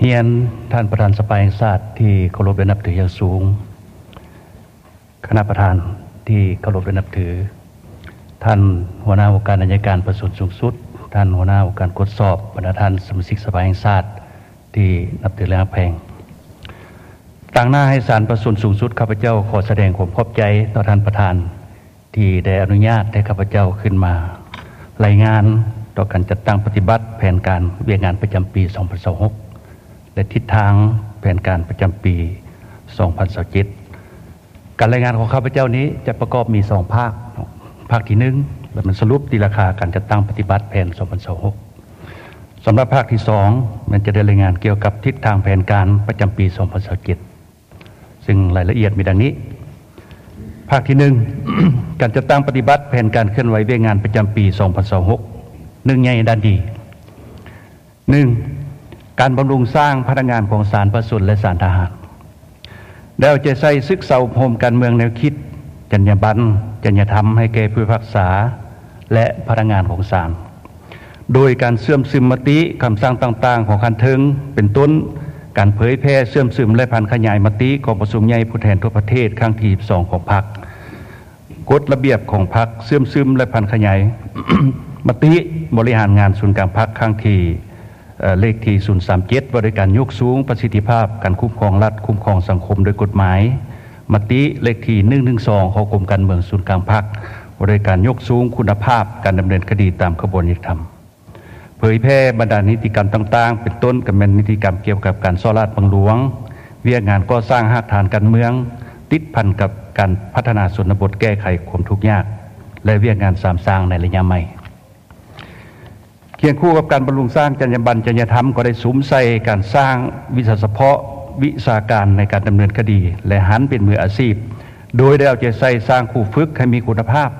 ຮຽນທ່ານປະທານສະພາແຫ່ງຊາດທີ່ເຄົາລົບ ແລະ ນັບຖືຢ່າງສູງ, ຄະນະປະທານທີ່ເຄົາລົບ ແລະ ນັບຖື, ທ່ານຫົວໜ້າອົງການໄອຍະການປະຊາຊົນສູງສຸດ, ທ່ານຫົວໜ້າອົງການກວດສອບ, ບັນດາທ່ານສະມາຊິກສະພາແຫ່ງຊາດທີ່ນັບຖື ແລະ ຮັກແພງ. ຕາງໜ້າໃຫ້ສານປະຊາຊົນສູງສຸດ, ຂ້າພະເຈົ້າຂໍສະແດງຄວາມຂອບໃຈຕໍ່ທ່ານປະທານ ທີ່ໄດ້ອະນຸຍາດໃຫ້ຂ້າພະເຈົ້າຂຶ້ນມາລາຍງານຕໍ່ການຈັດຕັ້ງປະຕິບັດແຜນການວຽກງານປະຈຳປີສອງພັນຊາວຫົກ ແລະ ທິດທາງແຜນການປະຈຳປີສອງພັນຊາວເຈັດ. ການລາຍງານຂອງຂ້າພະເຈົ້ານີ້ຈະປະກອບມີສອງພາກ. ພາກທີໜຶ່ງ ແລະ ມັນສະຫຼຸບຕີລາຄາການຈັດຕັ້ງປະຕິບັດແຜນສອງພັນຊາວຫົກ. ສຳລັບພາກທີສອງ ແມ່ນຈະໄດ້ລາຍງານກ່ຽວກັບທິດທາງແຜນການປະຈຳປີສອງພັນຊາວເຈັດ. ຊຶ່ງລາຍລະອຽດມີດັ່ງນີ້. ພາກທີໜຶ່ງ ການຈັດຕັ້ງປະຕິບັດແຜນການເຄື່ອນໄຫວວຽກງານປະຈຳປີສອງພັນຊາວຫົກ. ເລື່ອງໃຫຍ່ດ້ານດີ. ໜຶ່ງ ການບຳລຸງສ້າງພະນັກງານຂອງສານປະຊາຊົນ ແລະ ສານທະຫານ. ໄດ້ເອົາໃຈໃສ່ສຶກສາອົບຮົມການເມືອງ, ແນວຄິດ, ຈັນຍາບັນ, ຈັນຍາທຳ ໃຫ້ແກ່ຜູ້ພິພາກສາ ແລະ ພະນັກງານຂອງສານ. ໂດຍການເຊື່ອມຊຶມມະຕິ, ຄຳສັ່ງຕ່າງໆຂອງຂັ້ນເທິງ ເປັນຕົ້ນ ການເຜີຍແຜ່, ເຊື່ອມຊຶມ ແລະ ຜັນຂະຫຍາຍມະຕິກອງປະຊຸມໃຫຍ່ຜູ້ແທນທົ່ວປະເທດຄັ້ງທີສິບສອງຂອງພັກ, ກົດລະບຽບຂອງພັກ, ເຊື່ອມຊຶມ ແລະ ຜັນຂະຫຍາຍມະຕິບໍລິຫານງານສູນກາງພັກຄັ້ງທີ ເອີ ເລກທີສູນສາມເຈັດ ວ່າດ້ວຍການຍົກສູງປະສິດທິພາບການຄຸ້ມຄອງລັດ, ຄຸ້ມຄອງສັງຄົມໂດຍກົດໝາຍ, ມະຕິເລກທີໜຶ່ງໜຶ່ງສອງ ຂອງກົມການເມືອງສູນກາງພັກ ວ່າດ້ວຍການຍົກສູງຄຸນນະພາບການດຳເນີນຄະດີຕາມຂະບວນຍຸຕິທຳ. ເຜີຍແຜ່ບັນດານິຕິກຳຕ່າງໆ ເປັນຕົ້ນກໍແມ່ນນິຕິກຳກ່ຽວກັບການສໍ້ລາດບັງຫຼວງ, ວຽກງານກໍ່ສ້າງຮາກຖານການເມືອງ ຕິດພັນກັບການພັດທະນາຊົນນະບົດ, ແກ້ໄຂຄວາມທຸກຍາກ ແລະ ວຽກງານສາມສ້າງໃນໄລຍະໃໝ່. ຄຽງຄູ່ກັບການບຳລຸງສ້າງຈັນຍາບັນ, ຈັນຍາທຳ ກໍໄດ້ສຸມໃສ່ການສ້າງວິຊາສະເພາະ, ວິຊາການໃນການດຳເນີນຄະດີ ແລະ ຫັນເປັນມືອາຊີບ, ໂດຍໄດ້ເອົາໃຈໃສ່ສ້າງຄູຝຶກໃຫ້ມີຄຸນນະພາບ,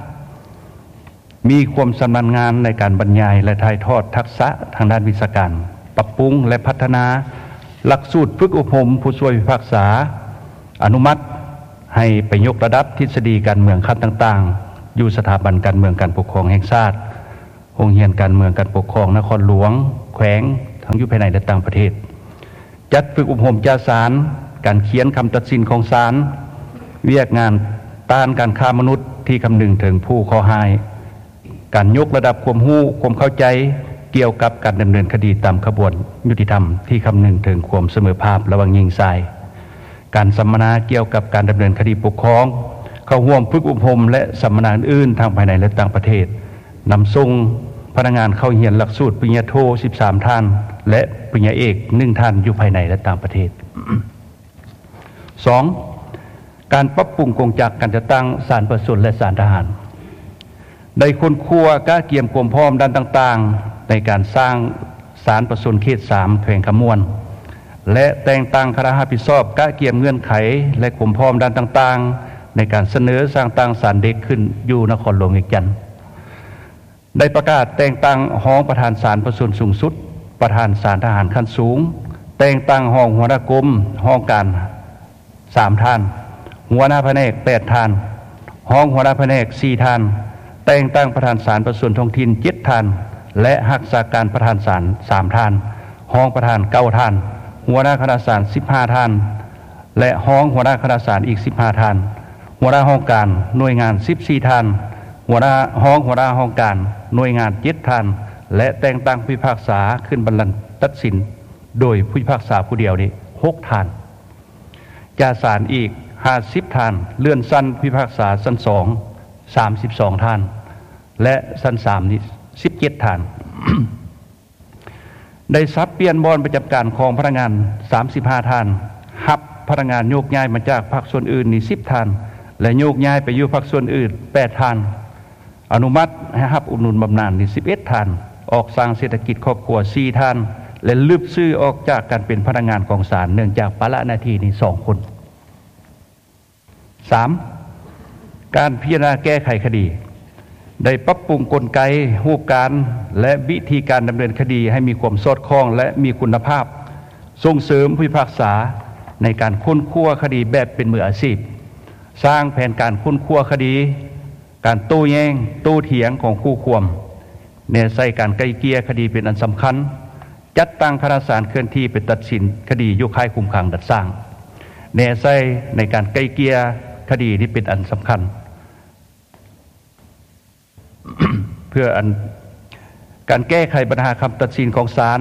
ມີຄວາມຊຳນານງານໃນການບັນຍາຍ ແລະ ຖ່າຍທອດທັກສະທາງດ້ານວິຊາການ, ປັບປຸງ ແລະ ພັດທະນາຫຼັກສູດຝຶກອົບຮົມຜູ້ຊ່ວຍພິພາກສາ, ອະນຸມັດໃຫ້ໄປຍົກລະດັບທິດສະດີການເມືອງຂັ້ນຕ່າງໆ ຢູ່ສະຖາບັນການເມືອງການປົກຄອງແຫ່ງຊາດ, ໂຮງຮຽນການເມືອງການປົກຄອງນະຄອນຫຼວງ, ແຂວງ ທັງຢູ່ພາຍໃນ ແລະ ຕ່າງປະເທດ. ຈັດຝຶກອົບຮົມຈາສານ, ການຂຽນຄຳຕັດສິນຂອງສານ, ວຽກງານຕ້ານການຄ້າມະນຸດທີ່ຄຳນຶງເຖິງຜູ້ເຄາະຮ້າຍ, ການຍົກລະດັບຄວາມຮູ້, ຄວາມເຂົ້າໃຈກ່ຽວກັບການດຳເນີນຄະດີຕາມຂະບວນຍຸຕິທຳທີ່ຄຳນຶງເຖິງຄວາມສະເໝີພາບລະຫວ່າງຍິງຊາຍ, ການສຳມະນາກ່ຽວກັບການດຳເນີນຄະດີປົກຄອງ, ເຂົ້າຮ່ວມຝຶກອົບຮົມ ແລະ ສຳມະນາອື່ນໆ ທັງພາຍໃນ ແລະ ຕ່າງປະເທດ, ນຳສົ່ງພະນັກງານເຂົ້າຮຽນຫຼັກສູດປະລິນຍາໂທສິບສາມທ່ານ ແລະ ປະລິນຍາເອກໜຶ່ງທ່ານ ຢູ່ພາຍໃນ ແລະ ຕ່າງປະເທດ. ສອງ, ການປັບປຸງກົງຈັກການຈັດຕັ້ງສານປະຊາຊົນ ແລະ ສານທະຫານ. ໄດ້ຄົ້ນຄວ້າກະກຽມຄວາມພ້ອມດ້ານຕ່າງໆ ໃນການສ້າງສານປະຊາຊົນເຂດສາມ ແຂວງຄຳມ່ວນ ແລະ ແຕ່ງຕັ້ງຄະນະຮັບຜິດຊອບກະກຽມເງື່ອນໄຂ ແລະ ຄວາມພ້ອມດ້ານຕ່າງໆ ໃນການສະເໜີສ້າງຕັ້ງສານເດັກຂຶ້ນຢູ່ນະຄອນຫຼວງວຽງຈັນ. ໄດ້ປະກາດແຕ່ງຕັ້ງຮອງປະທານສານປະຊາຊົນສູງສຸດ, ປະທານສານທະຫານຂັ້ນສູງ, ແຕ່ງຕັ້ງຮອງຫົວໜ້າກົມ, ຫ້ອງການສາມທ່ານ, ຫົວໜ້າພະແນກແປດທ່ານ, ຮອງຫົວໜ້າພະແນກສີ່ທ່ານ, ແຕ່ງຕັ້ງປະທານສານປະຊາຊົນທ້ອງຖິ່ນເຈັດທ່ານ ແລະ ຮັກສາການປະທານສານສາມທ່ານ, ຮອງປະທານເກົ້າທ່ານ, ຫົວໜ້າຄະນະສານສິບຫ້າທ່ານ ແລະ ຮອງຫົວໜ້າຄະນະສານອີກສິບຫ້າທ່ານ, ຫົວໜ້າຫ້ອງການໜ່ວຍງານສິບສີ່ທ່ານ, ຫົວໜ້າ ຮອງຫົວໜ້າຫ້ອງການໜ່ວຍງານເຈັດທ່ານ ແລະ ແຕ່ງຕັ້ງຜູ້ພິພາກສາຂຶ້ນບັນລັງຕັດສິນໂດຍຜູ້ພິພາກສາຜູ້ດຽວນີ້ຫົກທ່ານ, ຈາສານອີກຫ້າສິບທ່ານ, ເລື່ອນຊັ້ນຜູ້ພິພາກສາຊັ້ນສອງສາມສິບສອງທ່ານ ແລະ ຊັ້ນສາມນີ້ສິບເຈັດທ່ານ. ໄດ້ສັບປ່ຽນບ່ອນປະຈຳການຂອງພະນັກງານສາມສິບຫ້າທ່ານ, ຮັບພະນັກງານໂຍກຍ້າຍມາຈາກພາກສ່ວນອື່ນນີ້ສິບທ່ານ ແລະ ໂຍກຍ້າຍໄປຢູ່ພາກສ່ວນອື່ນແປດທ່ານ, ອະນຸມັດໃຫ້ຮັບອຸດໜູນບຳນານນີ້ສິບເອັດທ່ານ, ອອກສ້າງເສດຖະກິດຄອບຄົວສີ່ທ່ານ ແລະ ລຶບຊື່ອອກຈາກການເປັນພະນັກງານຂອງສານເນື່ອງຈາກປະລະໜ້າທີ່ນີ້ສອງຄົນ. ສາມ, ການພິຈາລະນາແກ້ໄຂຄະດີ ໄດ້ປັບປຸງກົນໄກ, ຮູບການ ແລະ ວິທີການດຳເນີນຄະດີໃຫ້ມີຄວາມສອດຄ່ອງ ແລະ ມີຄຸນນະພາບ, ສົ່ງເສີມຜູ້ພິພາກສາໃນການຄົ້ນຄວ້າຄະດີແບບເປັນມືອາຊີບ, ສ້າງແຜນການຄົ້ນຄວ້າຄະດີ, ການໂຕ້ແຍ້ງ, ໂຕ້ຖຽງຂອງຄູ່ຄວາມ, ແນໃສ່ການໄກ່ເກ່ຍຄະດີເປັນອັນສຳຄັນ, ຈັດຕັ້ງຄະນະສານເຄື່ອນທີ່ໄປຕັດສິນຄະດີໂຍກຍ້າຍຄຸມຂັງດັດສ້າງ ແນໃສ່ໃນການໄກ່ເກ່ຍຄະດີນີ້ເປັນອັນສຳຄັນ ເພື່ອອັນ ການແກ້ໄຂບັນຫາຄຳຕັດສິນຂອງສານ,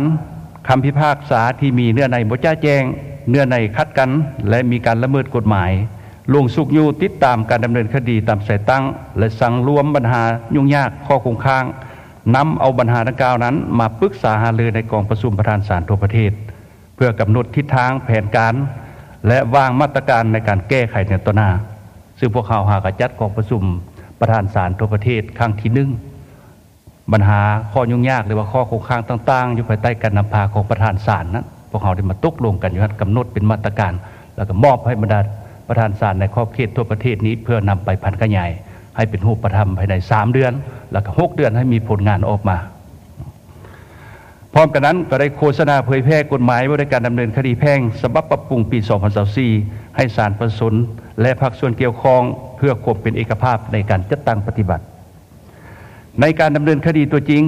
ຄຳພິພາກສາທີ່ມີເນື້ອໃນບໍ່ຈະແຈ້ງ, ເນື້ອໃນຂັດກັນ ແລະ ມີການລະເມີດກົດໝາຍ, ລົງຊຸກຍູ້ຕິດຕາມການດຳເນີນຄະດີຕາມສາຍຕັ້ງ ແລະ ສັງລວມບັນຫາຫຍຸ້ງຍາກ, ຂໍ້ຄົງຄ້າງ, ນຳເອົາບັນຫາດັ່ງກ່າວນັ້ນມາປຶກສາຫາລືໃນກອງປະຊຸມປະທານສານທົ່ວປະເທດ ເພື່ອກຳນົດທິດທາງ, ແຜນການ ແລະ ວາງມາດຕະການໃນການແກ້ໄຂໃນຕໍ່ໜ້າ. ຊຶ່ງພວກເຮົາຫາກະຈັດກອງປະຊຸມປະທານສານທົ່ວປະເທດຄັ້ງທີໜຶ່ງ ບັນຫາຂໍ້ຫຍຸ້ງຍາກ ຫຼືວ່າຂໍ້ຄົງຄ້າງຕ່າງໆ ຢູ່ພາຍໃຕ້ການນຳພາຂອງປະທານສານນັ້ນ ພວກເຮົາໄດ້ມາຕົກລົງກັນຢູ່ຫັ້ນ ກຳນົດເປັນມາດຕະການ ແລ້ວກໍມອບໃຫ້ບັນດາປະທານສານໃນຂອບເຂດທົ່ວປະເທດນີ້ ເພື່ອນຳໄປຜັນຂະຫຍາຍໃຫ້ເປັນຮູບປະທຳພາຍໃນສາມເດືອນ ແລ້ວກໍຫົກເດືອນໃຫ້ມີຜົນງານອອກມາ. ພ້ອມກັນນັ້ນກໍໄດ້ໂຄສະນາເຜີຍແຜ່ກົດໝາຍວ່າດ້ວຍການດຳເນີນຄະດີແພ່ງ ສະບັບປັບປຸງປີສອງພັນຊາວສີ່ ໃຫ້ສານປະຊາຊົນ ແລະ ພາກສ່ວນກ່ຽວຂ້ອງ ເພື່ອຄວາມເປັນເອກະພາບໃນການຈັດຕັ້ງປະຕິບັດ. ໃນການດຳເນີນຄະດີຕົວຈິງ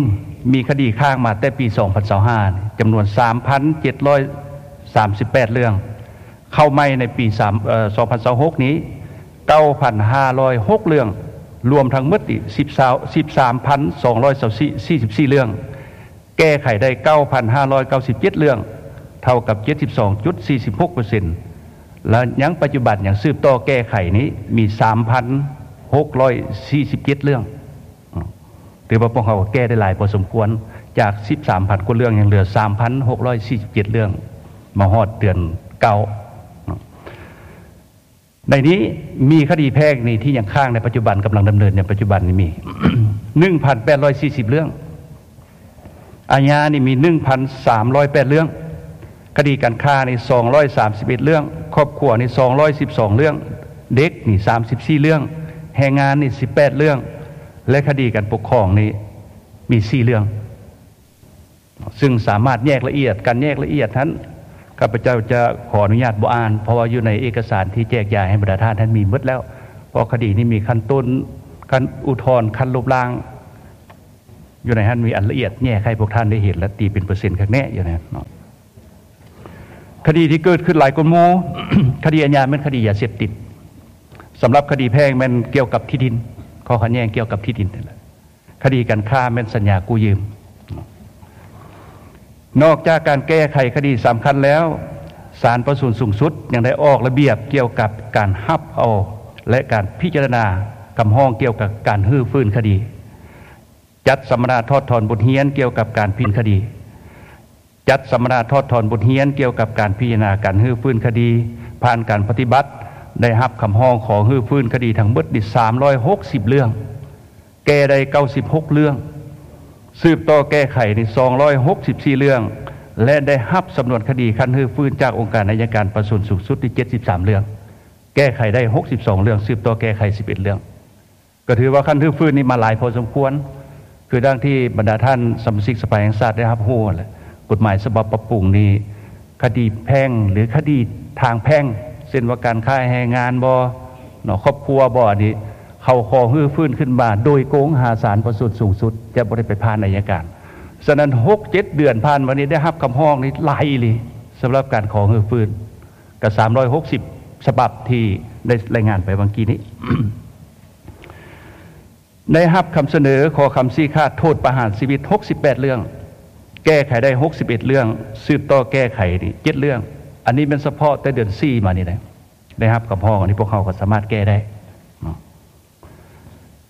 ມີຄະດີຄ້າງມາແຕ່ປີສອງພັນຊາວຫ້າ ຈຳນວນສາມພັນເຈັດຮ້ອຍສາມສິບແປດເລື່ອງ, ເຂົ້າໃໝ່ໃນປີສາມ ເອີ ສອງພັນຊາວຫົກນີ້ ເກົ້າພັນຫ້າຮ້ອຍຫົກເລື່ອງ, ລວມທັງໝົດນີ້ ສິບສາມພັນສອງຮ້ອຍຊາວສີ່ ສີ່ສິບສີ່ເລື່ອງ. ແກ້ໄຂໄດ້ເກົ້າພັນຫ້າຮ້ອຍເກົ້າສິບເຈັດເລື່ອງ, ເທົ່າກັບເຈັດສິບສອງຈຸດສີ່ສິບຫົກເປີເຊັນ ແລະ ຍັງປັດຈຸບັນຍັງສືບຕໍ່ແກ້ໄຂນີ້ມີສາມພັນຫົກຮ້ອຍສີ່ສິບເຈັດເລື່ອງ. ຖືວ່າພວກເຮົາກໍແກ້ໄດ້ຫຼາຍພໍສົມຄວນ, ຈາກສິບສາມພັນກວ່າເລື່ອງ ຍັງເຫຼືອສາມພັນຫົກຮ້ອຍສີ່ສິບເຈັດເລື່ອງ ມາຮອດເດືອນເກົ້າ. ໃນນີ້ມີຄະດີແພ່ງນີ້ທີ່ຍັງຄ້າງໃນປັດຈຸບັນ ກຳລັງດຳເນີນໃນປັດຈຸບັນນີ້ມີ ໜຶ່ງພັນແປດຮ້ອຍສີ່ສິບເລື່ອງ, ອາຍານີ້ມີໜຶ່ງພັນສາມຮ້ອຍແປດເລື່ອງ, ຄະດີການຄ້ານີ້ສອງຮ້ອຍສາມສິບເອັດເລື່ອງ, ຄອບຄົວນີ້ສອງຮ້ອຍສິບສອງເລື່ອງ, ເດັກນີ້ສາມສິບສີ່ເລື່ອງ, ແຮງງານນີ້ສິບແປດເລື່ອງ ແລະ ຄະດີການປົກຄອງນີ້ມີສີ່ເລື່ອງ. ຊຶ່ງສາມາດແຍກລະອຽດ, ການແຍກລະອຽດຫັ້ນ ຂ້າພະເຈົ້າຈະຂໍອະນຸຍາດບໍ່ອ່ານ, ເພາະວ່າຢູ່ໃນເອກະສານທີ່ແຈກຢາຍໃຫ້ບັນດາທ່ານ ທ່ານມີໝົດແລ້ວ. ເພາະຄະດີນີ້ມີຂັ້ນຕົ້ນ, ຂັ້ນອຸທອນ, ຂັ້ນລົບລ້າງ, ຢູ່ໃນຫັ້ນມີອັນລະອຽດແຍກໃຫ້ພວກທ່ານໄດ້ເຫັນ ແລະ ຕີເປັນເປີເຊັນຄັກແນ່ຢູ່ໃນນັ້ນເນາະ. ຄະດີທີ່ເກີດຂຶ້ນຫຼາຍກວ່າໝູ່, ຄະດີອາຍາແມ່ນຄະດີຢາເສບຕິດ, ສຳລັບຄະດີແພ່ງແມ່ນກ່ຽວກັບທີ່ດິນ, ຂໍ້ຂັດແຍ່ງກ່ຽວກັບທີ່ດິນນັ້ນແຫຼະ. ຄະດີການຄ້າແມ່ນສັນຍາກູ້ຢືມ. ນອກຈາກການແກ້ໄຂຄະດີສຳຄັນແລ້ວ, ສານປະຊາຊົນສູງສຸດຍັງໄດ້ອອກລະບຽບກ່ຽວກັບການຮັບເອົາ ແລະ ການພິຈາລະນາຄຳຮ້ອງກ່ຽວກັບການຮື້ຟື້ນຄະດີ, ຈັດສຳມະນາຖອດຖອນບົດຮຽນກ່ຽວກັບການພິຈາລະນາຄະດີ, ຈັດສຳມະນາຖອດຖອນບົດຮຽນກ່ຽວກັບການພິຈາລະນາການຮື້ຟື້ນຄະດີ ຜ່ານການປະຕິບັດ ໄດ້ຮັບຄຳຮ້ອງຂໍຮື້ຟື້ນຄະດີທັງໝົດນີ້ສາມຮ້ອຍຫົກສິບເລື່ອງ, ແກ້ໄດ້ເກົ້າສິບຫົກເລື່ອງ, ສືບຕໍ່ແກ້ໄຂນີ້ສອງຮ້ອຍຫົກສິບສີ່ເລື່ອງ ແລະ ໄດ້ຮັບສຳນວນຄະດີຂັ້ນຮື້ຟື້ນຈາກອົງການໄອຍະການປະຊາຊົນສູງສຸດນີ້ເຈັດສິບສາມເລື່ອງ, ແກ້ໄຂໄດ້ຫົກສິບສອງເລື່ອງ, ສືບຕໍ່ແກ້ໄຂສິບເອັດເລື່ອງ. ກໍຖືວ່າຂັ້ນຮື້ຟື້ນນີ້ມາຫຼາຍພໍສົມຄວນ, ຄືດັ່ງທີ່ບັນດາທ່ານສະມາຊິກສະພາແຫ່ງຊາດໄດ້ຮັບຮູ້ຫັ້ນແຫຼະ, ກົດໝາຍສະບັບປັບປຸງນີ້ ຄະດີແພ່ງ ຫຼື ຄະດີທາງແພ່ງ ເຊັ່ນວ່າການຄ້າແຮງງານບໍ ເນາະ ຄອບຄົວບໍ ອັນນີ້ເຂົາຂໍຮື້ຟື້ນຂຶ້ນມາໂດຍກົງຫາສານປະຊາຊົນສູງສຸດ, ຈະບໍ່ໄດ້ໄປຜ່ານໄອຍະການ. ສະນັ້ນ ຫົກເຈັດເດືອນຜ່ານມານີ້ໄດ້ຮັບຄຳຮ້ອງນີ້ຫຼາຍອີ່ຫຼີ ສຳລັບການຂໍຮື້ຟື້ນ, ກໍສາມຮ້ອຍຫົກສິບສະບັບທີ່ໄດ້ລາຍງານໄປຫວ່າງກີ້ນີ້. ໄດ້ຮັບຄຳສະເໜີຂໍຄຳຊີ້ຂາດໂທດປະຫານຊີວິດຫົກສິບແປດເລື່ອງ, ແກ້ໄຂໄດ້ຫົກສິບເອັດເລື່ອງ, ສືບຕໍ່ແກ້ໄຂນີ້ເຈັດເລື່ອງ. ອັນນີ້ແມ່ນສະເພາະແຕ່ເດືອນສີ່ມານີ້ນະ ໄດ້ຮັບຄຳຮ້ອງ, ອັນນີ້ພວກເຮົາກໍສາມາດແກ້ໄດ້ເນາະ.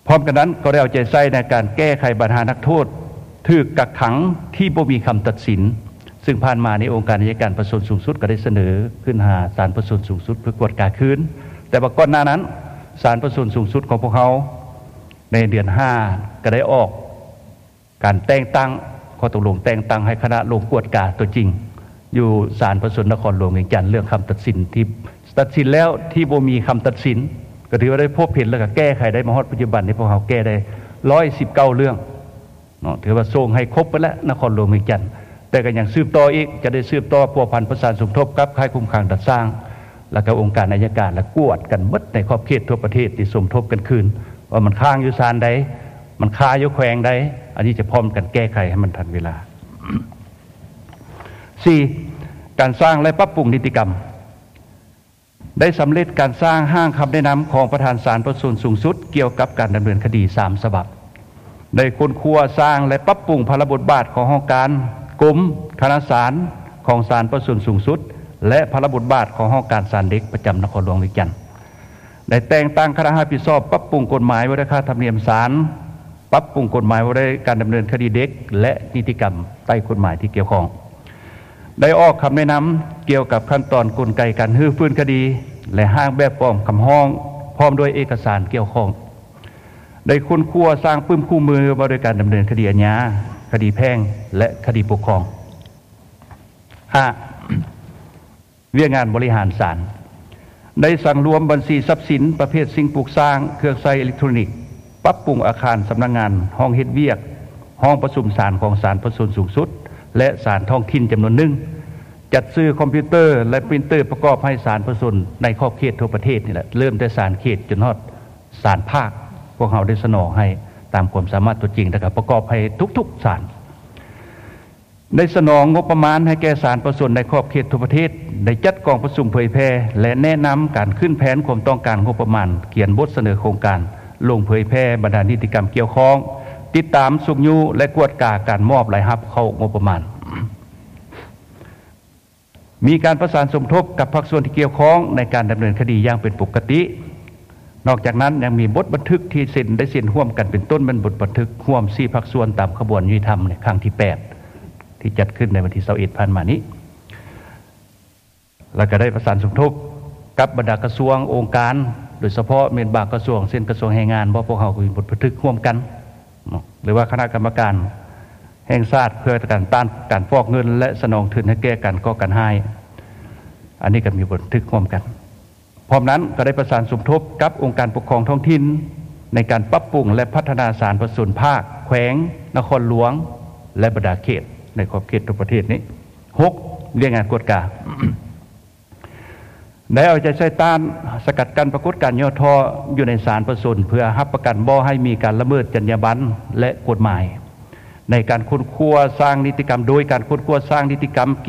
ພ້ອມກັນນັ້ນກໍໄດ້ເອົາໃຈໃສ່ໃນການແກ້ໄຂບັນຫານັກໂທດຖືກກັກຂັງທີ່ບໍ່ມີຄຳຕັດສິນ, ຊຶ່ງຜ່ານມານີ້ອົງການໄອຍະການປະຊາຊົນສູງສຸດກໍໄດ້ສະເໜີຂຶ້ນຫາສານປະຊາຊົນສູງສຸດເພື່ອກວດກາຄືນ. ແຕ່ວ່າກ່ອນໜ້ານັ້ນ ສານປະຊາຊົນສູງສຸດຂອງພວກເຮົາ ໃນເດືອນຫ້າກໍໄດ້ອອກການແຕ່ງຕັ້ງ, ຂໍ້ຕົກລົງແຕ່ງຕັ້ງໃຫ້ຄະນະລົງກວດກາຕົວຈິງ ຢູ່ສານປະຊາຊົນນະຄອນຫຼວງວຽງຈັນ ເລື່ອງຄຳຕັດສິນທີ່ຕັດສິນແລ້ວທີ່ບໍ່ມີຄຳຕັດສິນ, ກໍຖືວ່າໄດ້ພົບເຫັນ ແລ້ວກໍແກ້ໄຂໄດ້. ມາຮອດປັດຈຸບັນນີ້ ພວກເຮົາແກ້ໄດ້ຮ້ອຍສິບເກົ້າເລື່ອງເນາະ, ຖືວ່າສົ່ງໃຫ້ຄົບເບິດແລ້ວນະຄອນຫຼວງວຽງຈັນ, ແຕ່ກໍຍັງສືບຕໍ່ອີກ, ຈະໄດ້ສືບຕໍ່ພົວພັນປະສານສົມທົບກັບຄ້າຍຄຸມຂັງດັດສ້າງ ແລ້ວກໍອົງການໄອຍະການ ແລະ ກວດກັນເບິດໃນຂອບເຂດທົ່ວປະເທດທີ່ສົມທົບກັນຄືນ ວ່າມັນຄ້າງຢູ່ສານໃດ, ມັນຄາຢູ່ແຂວງໃດ, ອັນນີ້ຈະພ້ອມກັນແກ້ໄຂໃຫ້ມັນທັນເວລາ. ສີ່. ການສ້າງ ແລະ ປັບປຸງນິຕິກຳ. ໄດ້ສຳເລັດການສ້າງຮ່າງຄຳແນະນຳຂອງປະທານສານປະຊາຊົນສູງສຸດ ກ່ຽວກັບການດຳເນີນຄະດີສາມສະບັບ. ໄດ້ຄົ້ນຄວ້າສ້າງ ແລະ ປັບປຸງພາລະບົດບາດຂອງຫ້ອງການ, ກົມ, ຄະນະສານຂອງສານປະຊາຊົນສູງສຸດ ແລະ ພາລະບົດບາດຂອງຫ້ອງການສານເດັກປະຈຳນະຄອນຫຼວງວຽງຈັນ. ໄດ້ແຕ່ງຕັ້ງຄະນະຮັບຜິດຊອບປັບປຸງກົດໝາຍວ່າດ້ວຍຄ່າທຳນຽມສານ, ປັບປຸງກົດໝາຍວ່າດ້ວຍການດຳເນີນຄະດີເດັກ ແລະ ນິຕິກຳໃຕ້ກົດໝາຍທີ່ກ່ຽວຂ້ອງ. ໄດ້ອອກຄຳແນະນຳກ່ຽວກັບຂັ້ນຕອນກົນໄກການຮື້ຟື້ນຄະດີ ແລະ ຮ່າງແບບຟອມຄຳຮ້ອງ ພ້ອມດ້ວຍເອກະສານກ່ຽວຂ້ອງ. ໄດ້ຄົ້ນຄວ້າສ້າງປຶ້ມຄູ່ມືວ່າດ້ວຍການດຳເນີນຄະດີອາຍາ, ຄະດີແພ່ງ ແລະ ຄະດີປົກຄອງ. ຫ້າ. ວຽກງານບໍລິຫານສານ. ໄດ້ສັງລວມບັນຊີຊັບສິນປະເພດສິ່ງປຸກສ້າງ, ເຄື່ອງໃຊ້ເອເລັກໂທຣນິກ, ປັບປຸງອາຄານສຳນັກງານ, ຫ້ອງເຮັດວຽກ, ຫ້ອງປະຊຸມສານຂອງສານປະຊາຊົນສູງສຸດ ແລະ ສານທ້ອງຖິ່ນຈຳນວນໜຶ່ງ, ຈັດຊື້ຄອມພິວເຕີ ແລະ ປຣິນເຕີປະກອບໃຫ້ສານປະຊາຊົນໃນຂອບເຂດທົ່ວປະເທດນີ້ແຫຼະ, ເລີ່ມແຕ່ສານເຂດຈົນຮອດສານພາກ, ພວກເຮົາໄດ້ສະໜອງໃຫ້ຕາມຄວາມສາມາດຕົວຈິງ ແລະ ກໍປະກອບໃຫ້ທຸກໆສານ. ໄດ້ສະໜອງງົບປະມານໃຫ້ແກ່ສານປະຊາຊົນໃນຂອບເຂດທົ່ວປະເທດ, ໄດ້ຈັດກອງປະຊຸມເຜີຍແຜ່ ແລະ ແນະນຳການຂຶ້ນແຜນຄວາມຕ້ອງການງົບປະມານ, ຂຽນບົດສະເໜີໂຄງການ, ລົງເຜີຍແຜ່ບັນດານິຕິກຳກ່ຽວຂ້ອງ, ຕິດຕາມຊຸກຍູ້ ແລະ ກວດກາການມອບລາຍຮັບເຂົ້າງົບປະມານ. ມີການປະສານສົມທົບກັບພາກສ່ວນທີ່ກ່ຽວຂ້ອງໃນການດຳເນີນຄະດີຢ່າງເປັນປົກກະຕິ. ນອກຈາກນັ້ນຍັງມີບົດບັນທຶກທີ່ເຊັນ ໄດ້ເຊັນຮ່ວມກັນ ເປັນຕົ້ນແມ່ນບົດບັນທຶກຮ່ວມສີ່ພາກສ່ວນຕາມຂະບວນຍຸຕິທຳໃນຄັ້ງທີແປດ ທີ່ຈັດຂຶ້ນໃນວັນທີຊາວເອັດຜ່ານມານີ້ ແລ້ວກໍໄດ້ປະສານສົມທົບກັບບັນດາກະຊວງ, ອົງການ, ໂດຍສະເພາະແມ່ນບາງກະຊວງ ເຊັ່ນ ກະຊວງແຮງງານ, ບໍ່ ພວກເຮົາກໍມີບົດບັນທຶກຮ່ວມກັນເນາະ ຫຼືວ່າຄະນະກຳມະການແຫ່ງຊາດເພື່ອຕ້ານການຟອກເງິນ ແລະ ສະໜອງທຶນໃຫ້ແກ່ການກໍ່ການຮ້າຍ, ອັນນີ້ກໍມີບັນທຶກຮ່ວມກັນ. ພ້ອມນັ້ນກໍໄດ້ປະສານສົມທົບກັບອົງການປົກຄອງທ້ອງຖິ່ນ ໃນການປັບປຸງ ແລະ ພັດທະນາສານປະຊາຊົນພາກ, ແຂວງ, ນະຄອນຫຼວງ ແລະ ບັນດາເຂດໃນຂອບເຂດທົ່ວປະເທດນີ້. ຫົກ. ວຽກງານກວດກາ. ໄດ້ເອົາໃຈໃສ່ຕ້ານສະກັດກັ້ນປາກົດການຫຍໍ້ທໍ້ຢູ່ໃນສານປະຊາຊົນ ເພື່ອຮັບປະກັນບໍ່ໃຫ້ມີການລະເມີດຈັນຍາບັນ ແລະ ກົດໝາຍ ໃນການຄົ້ນຄວ້າສ້າງນິຕິກຳ, ໂດຍການຄົ້ນຄວ້າສ້າງນິຕິກຳ